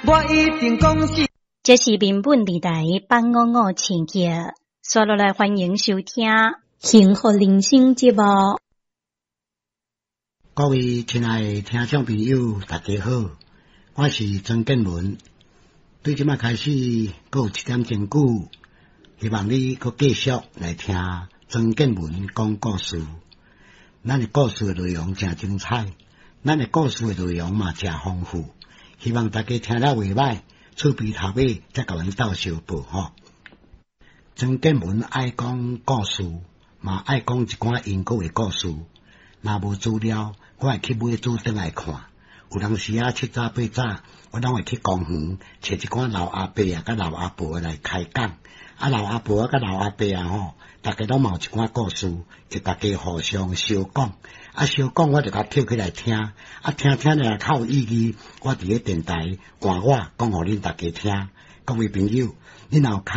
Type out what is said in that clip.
我一定講死。這是民本二台八五五千赫，刷落來歡迎收聽《幸福人生》節目。各位親愛的聽眾朋友，大家好，我是曾建文。對這擺開始，閣有一點鐘久，希望你閣繼續來聽曾建文講故事。咱的故事的內容誠精彩，咱的故事的內容嘛誠豐富，希望大家聽了袂䆀，厝邊頭尾才共阮鬥相報吼。曾建文愛講故事，嘛愛講一寡因果的故事。若無資料，我會去買書轉來看。有當時啊，七早八早，我攏會去公園，揣一寡老阿伯啊，佮老阿婆來開講。啊，老阿婆啊，佮老阿伯啊吼，逐家攏嘛有一寡故事，就逐家互相相講。啊，相講我就共抾起來聽。啊，聽聽了較有意義，我佇咧電台換我講予恁逐家聽。各位朋友，恁若有較